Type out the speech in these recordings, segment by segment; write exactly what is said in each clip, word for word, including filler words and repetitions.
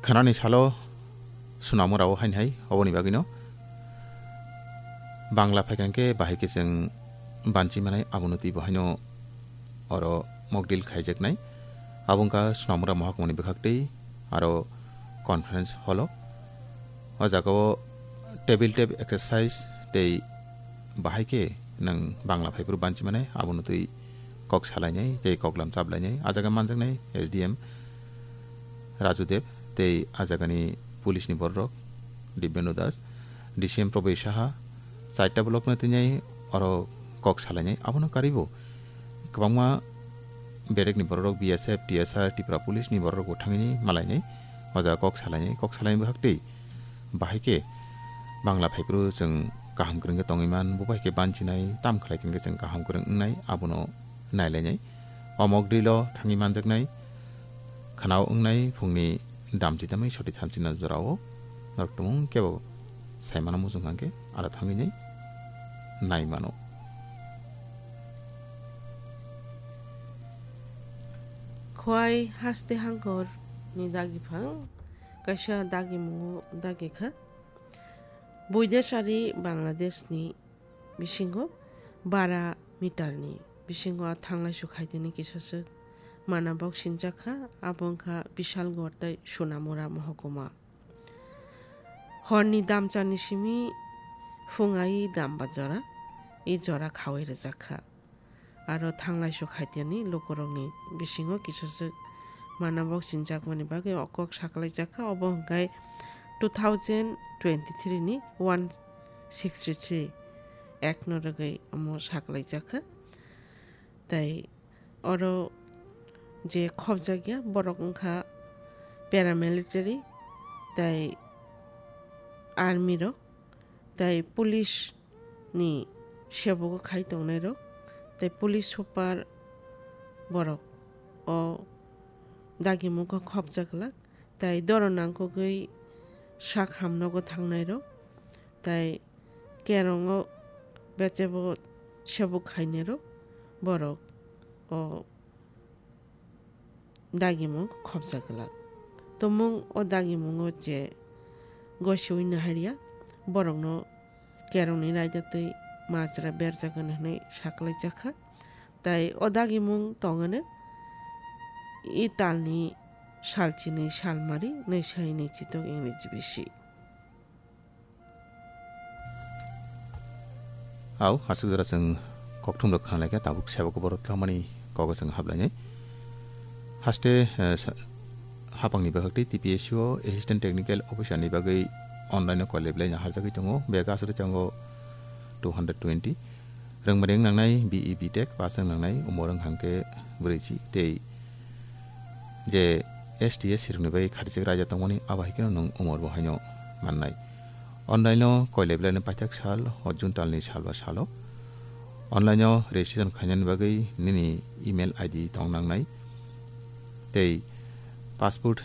Khanani salo swnamorao haini hai, oboni bagwino Bangla phaikha hwnkhe bahai khe chwng banchi manai, abono twibo haino oro mock drill khaijaknai. Abo wngkha Swnamura Mohakuma ni bwkhaktwi aro conference hall o. O jaga o table tap exercise tei bahai khe nwng Bangla phaiphuru banchi manai, abono twi kok salainai tei koklam chaplainai. A jaga manjaknai S D M Raju Deb tei a jagani police ni bororok Dibyendo Das, D C M Proboi Saha, chaita block no tini oro kok salainai. Abono karibo kwbangma bedekni bororok B S F, T S R, Tripura police ni bororok bo thangwi malainai. O jaga kok salainai, kok salaini bwkhaktwi bahai khe Bangla phaiphuru chwng kaham kwrwng khe tongwi man, bo bai khe banchinai, tam khlai khe chwng kaham kwrwng wngnai, abono nailainai. O mock drill o thangwi manjaknai, khwnao wngnai phungni damchi tamwi soti thamchi na jorao norok tumung kebo saimano muchung hwnkhe aro thangwi nai nai mano. Khwai haste hangkor ni dagi phang kaisa dagi mungo dagi kha. Buidesari Bangladesh ni bisingo bara meter ni bisingo a thanglai su khaitini kisaswk mana bok sinjak kha, abo wngkha Bishalgarh tei Sonamura mohokuma. Horni damchani simi phung ai damba jora, i jora khawai rwjak kha. Aro thanglai su khaitini lukurokni bisingo kisaswk mana bok sinjakmani bagwi o kok saklaijak kha, obo hwnkhe two thousand twenty-three ni one sixty-three act no rwgwi omo saklaijak kha. Tei oro je khopjakya borok wngkha paramilitary tei army rok tei police ni sebogo khai tongnai rok tei police super borok o dagimung kho khopjak glak. Tei doro nangkukgwi sak hamnogo thangnairok, tei kerongo bechebo sebuk khainairok, borok o dagimung khopjak glak. Tumung o dagimungo je gosiui naharya, borokno kerongni raida tei majra berjak hwnwi saklaijak kha. Tei o dagimung tongano i talni salchini salmari nai sai nai chitok English bisi. Au, aswk jora chwng kokthum rok khanlaikha, tabuk sebo kobor tlamani kogo chwng hablainai. Haste, eh, sa-, hapangni bwkhak tei T P S C o Assistant Technical Officer ni bagwi online o college laina harjagwi tongo. Bega aswk chango two hundred twenty. Rwngmari wng nangnai B E B Tech pass wng nangnai umor wng hangke brwichi tei je S T S C rokni bai kharijak raida tongmani abo hai kheno nwng umor bo haino mannai. Online o koilai belai ni paithak sal o June talni sal ba salo online o registration khainani bagwi nini email I D tong nangnai tei passport,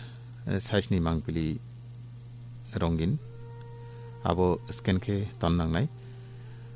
eh, size ni mangpili rongin abo scan khe ton nangnai.